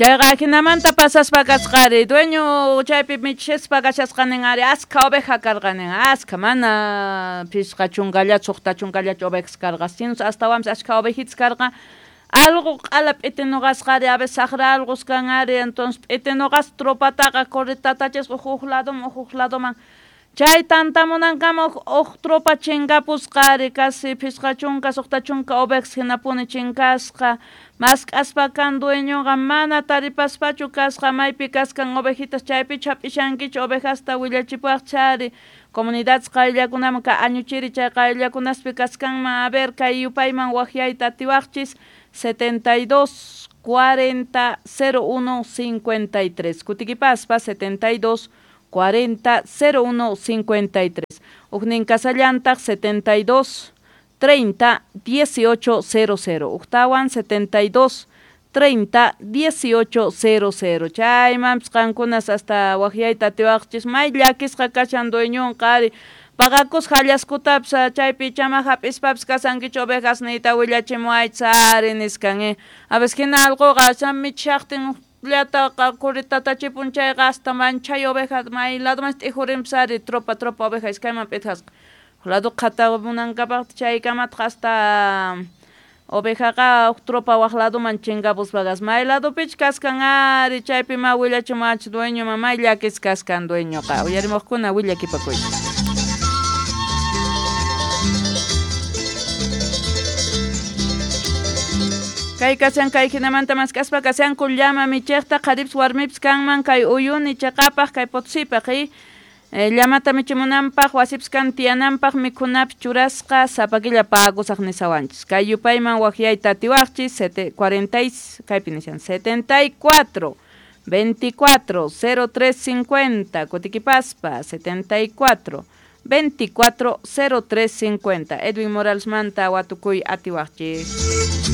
Chayqa ajinamanta pasaspa kasqari dueño chaypi michispa kashasqanin ari askha oveja karqanin askha mana phisqa chunkallachu suqta chunkallachu ovejas karqa sino astawanpis askha ovejitas karqa alqo q'ala p'itinuqasqari a veces saqra alqos kan ari entonces p'itinuqas tropataqa corretatachisqa huk ladoman huk ladoman chay tantamunankama huk tropa chinkapusqa ari casi 50 60 ovejas hinapuni chinkasqa mask'aspa kan dueñoqa mana taripaspachu kasqa maypi kaskan ovejitas chaypichu hap'ishankichu ovejasta willachipuwaqchari comunidades qayllakunaman ka añuchiri chay qayllakunaspi kaskanman a ver kay yupayman waqyayta atiwaqchis 72 40 01 53 kutikipaspa 72 40 01 53 Ujnin kasallantaq 72 30 18 00 Ujtawan 72 30 18 00 chaymanpis qankunas hasta waqyayta atiwaqchis may llakisqa kashan dueñonqa ari paqakusqa hallaskutapis chaypi chama hap'ispapis kasankichu ovejas niyta willachimuwaychis ari niskan a veces hina allquqa michishaqtin llataqa corretatachipun chayqa hasta manchay oveja may ladomanchis t'ijurinpis ari tropa tropa oveja iskayman p'itqasqa huk lado qhatamunankapaq chaykamataq hasta ovejaqa huk tropa waq ladoman chinkapuspa kasqa may ladopich kaskan ari chaypi ma willachimuwachis dueño may llakisqa kaskan dueñoqa uyarimuqkuna willakipakuychis. Kay kashan kay hinamanta mask'aspa kashanku llama michiqta qharipis warmipis kanman kay uyuni chaqapaq kay Potosipaq llamata michimunanpaq wasipis kan tiyananpaq mikhunapis churasqa sapa killa pagusaq nisawanchis kay yupayman waqyayta atiwaqchis 40 kaypi nishan 74 24 03 50 kutikipaspa 74 24 03 50 Edwin Morales manta watukuy atiwaqchis.